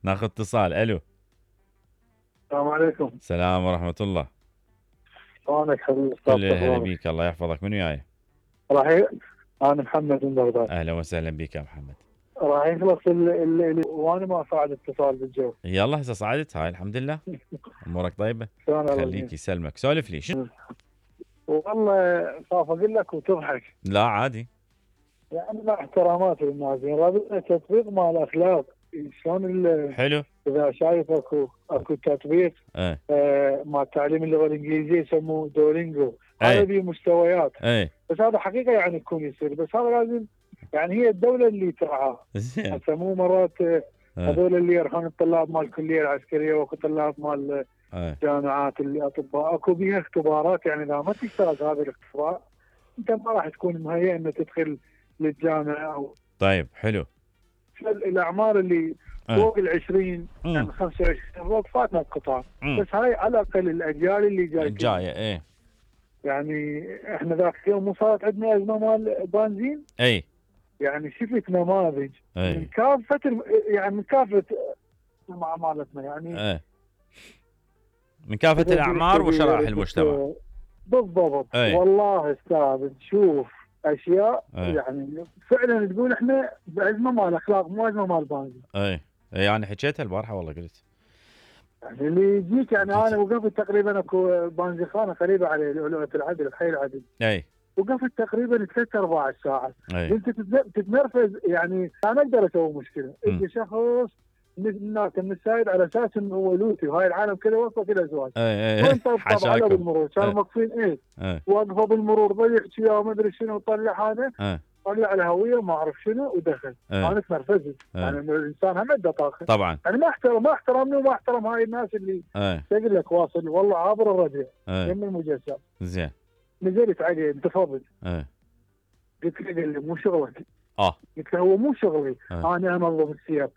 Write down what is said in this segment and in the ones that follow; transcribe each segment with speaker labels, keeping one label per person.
Speaker 1: ناخذ اتصال. الو.
Speaker 2: السلام عليكم.
Speaker 1: السلام ورحمة الله.
Speaker 2: شلونك حبيبي
Speaker 1: كل
Speaker 2: استاذ؟
Speaker 1: هلا بيك، الله يحفظك. من وياي؟
Speaker 2: راح انا محمد من بغداد.
Speaker 1: اهلا وسهلا بك يا محمد.
Speaker 2: راح يخلص وانا ما صعد اتصال بالجو.
Speaker 1: يلا هسه صعدت هاي الحمد لله. امورك طيبة؟
Speaker 2: شلون
Speaker 1: خليك يسلمك. سولف لي. شنو؟
Speaker 2: والله خاف اقول لك وتضحك.
Speaker 1: لا عادي.
Speaker 2: يعني مع احترامات للناس، يعني رابطنا تطبيق مال الاخلاق. شلون
Speaker 1: حلو.
Speaker 2: اذا شايف اكو تطبيق
Speaker 1: ايه
Speaker 2: مع تعليم اللغه الانجليزيه يسموه دولينجو.
Speaker 1: ايه
Speaker 2: هذا به مستويات،
Speaker 1: ايه
Speaker 2: بس هذا حقيقه يعني يكون يصير، بس هذا لازم يعني هي الدوله اللي ترعاه.
Speaker 1: زين.
Speaker 2: هسه مو مرات هذول اللي يرحون الطلاب مال الكليه العسكريه واكو طلاب مال جامعات اللي اطباء، اكو بيها اختبارات، يعني اذا ما تجتاز هذا الاختبار انت ما راح تكون مهيئ انك تدخل للجامعه. او
Speaker 1: طيب حلو.
Speaker 2: الاعمار اللي فوق ال20 يعني 25 فوق فاتنا القطار، بس هاي على الاقل الاجيال اللي
Speaker 1: جايه. ايه
Speaker 2: يعني احنا ذاك اليوم مو صارت عندنا ازمه مال بنزين.
Speaker 1: اي
Speaker 2: يعني شفت نماذج من كافه يعني من كافه مالتنا، يعني
Speaker 1: من كافه الاعمار وشرائح المجتمع.
Speaker 2: بالضبط. والله استاذ تشوف اشياء يعني فعلا تقول احنا بازمه مال اخلاق مو ازمه مال بنزين.
Speaker 1: يعني حكيتها البارحه والله قلت
Speaker 2: يعني اللي يجيك، يعني انا وقفت تقريبا اكو بنزينخانه قريبه على لؤلؤه العدل بحي العدل. وقفت تقريبا 3-4 ساعات. انت تتنرفز، يعني انا اقدر اسوي مشكله. يجي شخص من السايد على اساس انه هو لوتي وهاي العالم كذا واقفه كذا ازواج. وانت طبعا على بالمرور كانوا واقفين واقفه بالمرور ضيق يا ما ادري شنو، طلع هذا طلع الهويه وما اعرف شنو ودخل. انا تنرفزت. يعني الانسان هم عنده طاقه
Speaker 1: طبعا.
Speaker 2: يعني ما احترمني وما احترم هاي الناس اللي تقول لك واصل والله عابر الربيع يم المجسم.
Speaker 1: زين.
Speaker 2: نزلت عليه انتفضت. قلت له قال لي مو شغلك. قلت له هو مو شغلي. انا انظم السير،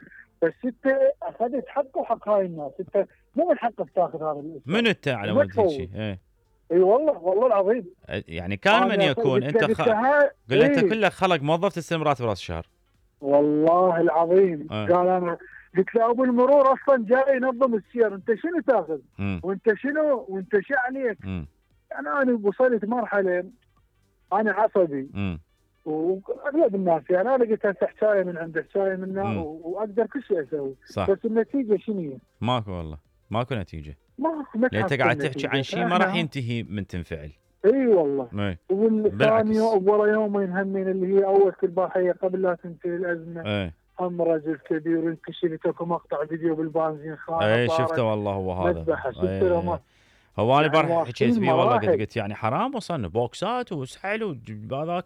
Speaker 2: بس انت اخذت حق وحق هاي الناس. انت مو من حقك تاخذ هذا الاسم.
Speaker 1: من انت على ود هيك؟
Speaker 2: اي والله العظيم.
Speaker 1: يعني كان من يكون انت قل انت كلك خلق موظف تستلم راتب راس الشهر. والله
Speaker 2: العظيم. قال انا قلت له ابو المرور اصلا جاي ينظم السير، انت شنو تاخذ؟ وانت شنو وانت شو عليك؟ يعني انا وصلت مرحله انا عصبي. واغلب الناس يعني انا قلت هسه حكايه من عند حكايه منا واقدر كل شيء اسوي.
Speaker 1: صح.
Speaker 2: بس النتيجه شنو هي؟
Speaker 1: ماكو والله، ماكو نتيجه.
Speaker 2: ماكو.
Speaker 1: لان انت قاعد تحكي عن شيء ما راح ينتهي من تنفعل.
Speaker 2: اي والله. والثاني ورا يومين همين اللي هي اول كالباحيه قبل لا تنتهي الازمه. هم رجل كبير انكشفت اكو مقطع فيديو بالبنزين خانه.
Speaker 1: شفته والله هو هذا.
Speaker 2: مذبحه شفته.
Speaker 1: هو انا البارحه حكيت فيه والله قلت يعني حرام وصلنا بوكسات وسحل وهذاك.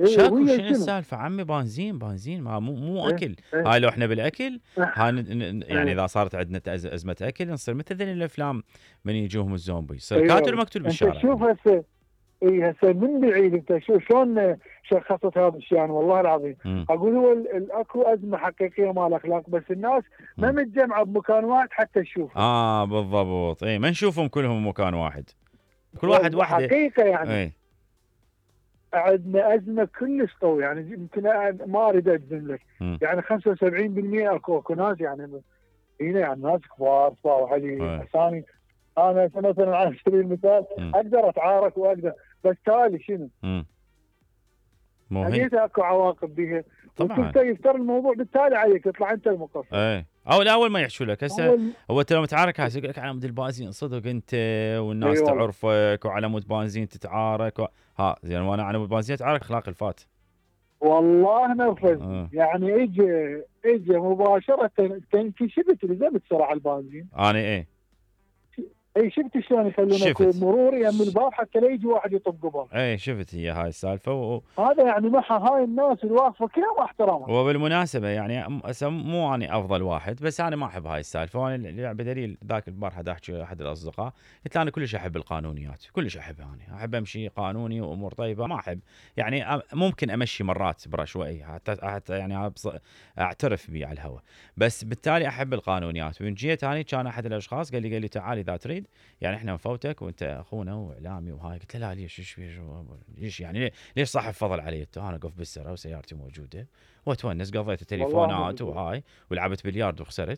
Speaker 1: شكو شنو السالفه عمي؟ بنزين ما مو اكل. هاي لو احنا بالاكل يعني اذا صارت عندنا ازمه اكل نصير مثل ذي الافلام من يجوهم الزومبي، يصير كاتل مقتول بالشارع.
Speaker 2: شوف هسه هسه من بعيد انت شوف شلون شخصت هذا الشيء. يعني والله العظيم اقول هو اكو ازمه حقيقيه مال اخلاق، بس الناس ما متجمعه بمكان واحد حتى تشوف.
Speaker 1: بالضبط. ما نشوفهم كلهم بمكان واحد، كل واحد وحده
Speaker 2: حقيقه يعني. عندنا ازمه كلش قويه، يعني يمكن ما اريد اجزم لك. يعني 75% اكو ناس يعني هنا يعني ناس كبار وعلي ثاني. انا مثلا على سبيل المثال اقدر اتعارك واقدر، بس تالي شنو؟
Speaker 1: مو
Speaker 2: اكو عواقب بها
Speaker 1: طبعا.
Speaker 2: يفتر الموضوع بالتالي عليك تطلع انت المقصر.
Speaker 1: او الاول ما يحشوا لك. هسه هو انت لو متعارك هسه يقول لك على مود البنزين صدق انت والناس تعرفك وعلى مود بنزين تتعارك زين وانا على مود بنزين اتعارك اخلاق الفات.
Speaker 2: والله نرفز. يعني اجى مباشره انكشفت لزمت سرعه البنزين.
Speaker 1: انا
Speaker 2: شفت شلون يخلونك مرور يم الباب حتى لا يجي واحد يطق قبل.
Speaker 1: شفت هي هاي السالفه
Speaker 2: هذا يعني محى هاي الناس الواقفه كلها ما احترامها.
Speaker 1: وبالمناسبه يعني مو اني افضل واحد، بس انا ما احب هاي السالفه. وانا بدليل ذاك البارحه احكي احد الاصدقاء قلت له انا كلش احب القانونيات، كلش احبها. انا احب امشي قانوني وامور طيبه. ما احب يعني ممكن امشي مرات برشوائي حتى يعني اعترف بي على الهواء، بس بالتالي احب القانونيات. ومن جيت اني كان احد الاشخاص قال لي تعال اذا تريد يعني احنا نفوتك وانت اخونا واعلامي وهاي. قلت له لا ليش ليش يعني ليش صاحب فضل علي؟ انا اقف بالسره وسيارتي موجوده واتونس، قضيت تليفونات وهاي ولعبت بلياردو وخسرت.